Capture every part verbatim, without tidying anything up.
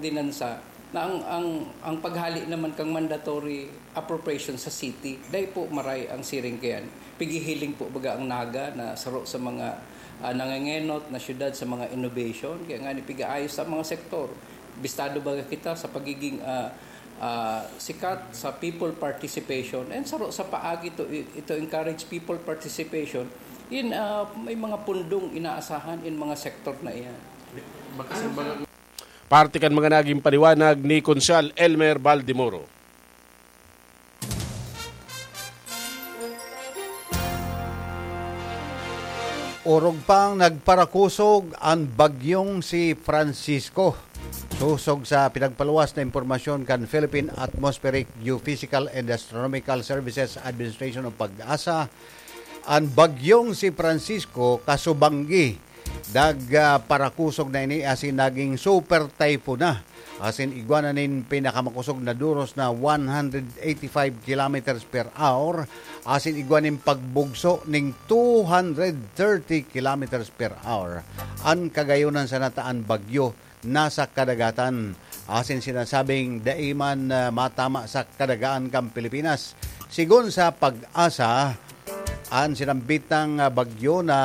ordinansa na ang, ang, ang paghali naman kang mandatory appropriation sa city, dai po maray ang siring kayan. Pigihiling po baga ang Naga na saro sa mga, ah, nangengenot na syudad sa mga innovation, kaya nga ni pigaayos sa mga sektor. Bistado baga kita sa pagiging, ah, ah, sikat sa people participation and saro sa paagi to, ito encourage people participation in, ah, may mga pundong inaasahan in mga sektor na iyan. Parte kan mga naging paliwanag ni Konsehal Elmer Baldemoro. Orog pang nagparakusog an bagyong si Francisco. Sosog sa pinagpaluwas na impormasyon kan Philippine Atmospheric, Geophysical and Astronomical Services Administration o PAGASA, an bagyong si Francisco kasubanggi nag, ah, parakusog na ini asin naging super typhoon na. Asin igwa na nin pinakamakosog na duros na one hundred eighty-five kilometers per hour, asin igwa nin pagbugso ning two hundred thirty kilometers per hour. An kagayonan sana ta an bagyo nasa kadagatan, asin sinasabing dai man, ah, matama sa kadagaan kan Pilipinas. Sigon sa PAGASA, an sinambitang, ah, bagyo na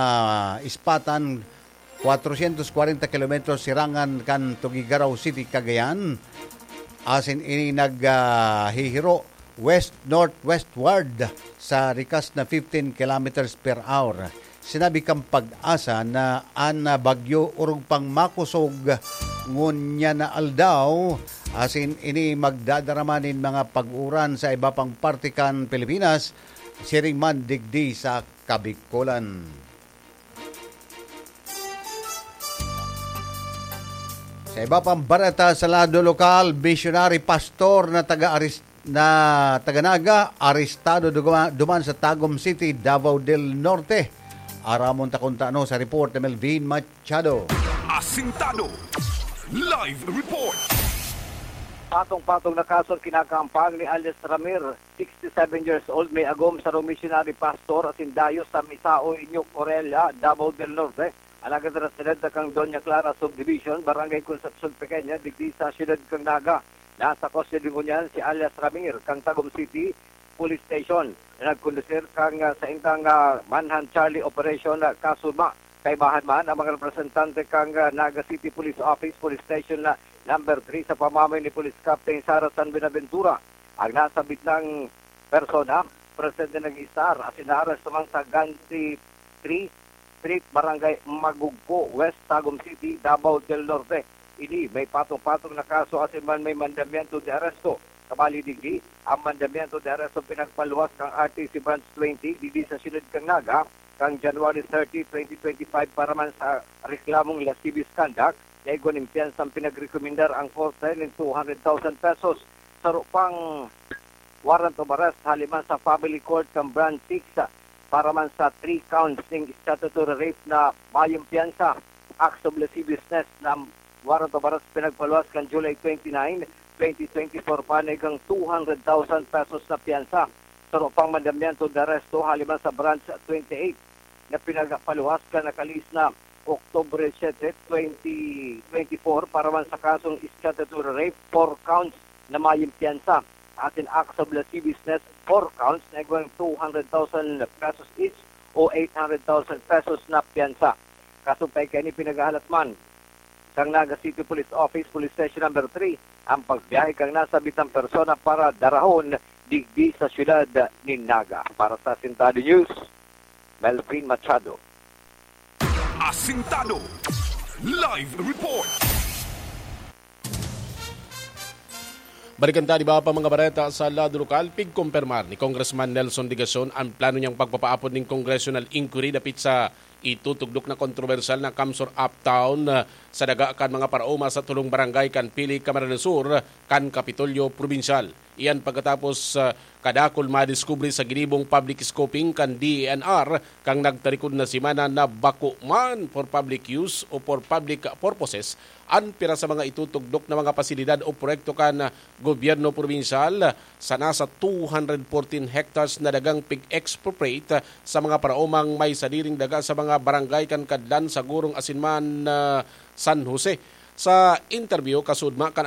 ispatan kwatrocientos kwarenta kilometros sirangan kan Tuguegarao City, Cagayan, asin ini nag, ah, hihiro west-northwestward sa rikas na fifteen kilometers per hour. Sinabi kan PAGASA na an, ah, bagyo orog pang makosog ngunyan na aldaw, asin ini magdadarama nin mga pag-uran sa iba pang parte kan Pilipinas, siring man digdi sa Kabikolan. Sa iba pang bareta sa lado lokal, misyonary pastor na taga Aris-, na taga Naga, arestado duguma-, duman sa Tagum City, Davao del Norte. Aramon ta kun ta ano sa report ni Melvin Machado. Asintado. Live report. Patong-patong na kaso ang kinakahampang ni alias Ramir, sixty-seven years old, may agom sa missionary pastor asin dayo sa Misaoy, New Corella, Davao del Norte. Alagad raseled na kang Doña Clara Subdivision, Barangay Concepcion Pequeña, digdi sa siyudad kang Naga. Nasa kustodiya ngunyan si alias Ramir kang Tagum City Police Station na nagkondusir kang, ah, saindang, ah, Manhunt Charlie Operation na kaso ba. Kaibahan man ang mga representante kang, ah, Naga City Police Office, Police Station na number three sa pamamayo ni Police Captain Sara San Buenaventura. Ang nasabit nang persona, presente nag-iistar asin naaresto man sa Gansi three Street, Barangay Magugco, West Tagum City, Davao del Norte. Ini may patong-patong na kaso asin man may mandamiento de aresto. Kabali digdi, ang mandamiento de aresto pinagpaluwas kang R T C Branch twenty digdi sa siyudad kang Naga, kang January thirty, twenty twenty-five para man sa reklamong lascivious conduct na igwa nin piyansang pinagrekomendar ang korte nin two hundred thousand pesos. Saro pang warrant of arrest hali man sa family court kan Branch six para man sa three counts ning statutory rape na mayong piyansa. Acts of lasciviousness na warrant of arrest pinagpaluwas kan July twenty-nine, twenty twenty-four pa na igwang two hundred thousand pesos na piyansa. Saro pang mandamiento de aresto hali man sa Branch twenty-eight na pinagpaluwas kan nakalihis na Oktubre siete, twenty twenty-four para man sa kasong statutory rape, four counts na mayong piyansa. Asin acts of lasciviousness, four counts na igwang two hundred thousand pesos each o eight hundred thousand pesos na piyansa. Kasumpay kaini, pinaghahalat man sang Naga City Police Office, Police Station number three, ang pagbiyahe kang nasabitang persona para darahon digdi sa siyudad nin Naga. Para sa Asintado News, Melvin Machado. Asintado. Live report. Balikan ta an iba pa mga bareta sa lado lokal. Pigkompermar ni Congressman Nelson Digason ang plano niyang pagpapaapod nin congressional inquiry dapit sa itutugdok na kontrobersyal na CamSur Uptown, ah, sa daga kan mga paraoma sa tolong barangay kan Pili, Camarines Sur, kan Kapitolyo Probinsyal. Iyan pagkatapos, ah, kadakul madiskubre sa ginibong public scoping kan D E N R kan nagtarikod na semana na bako man for public use o for public purposes an pira sa mga itutugdok na mga pasilidad o proyekto kan gobyerno probinsyal sa nasa two hundred fourteen hectares na dagang pig-expropriate sa mga paraomang may sadiring daga sa mga barangay kan Kadlan, Sagurong asin man, ah, San Jose. Sa interview, kasudma kan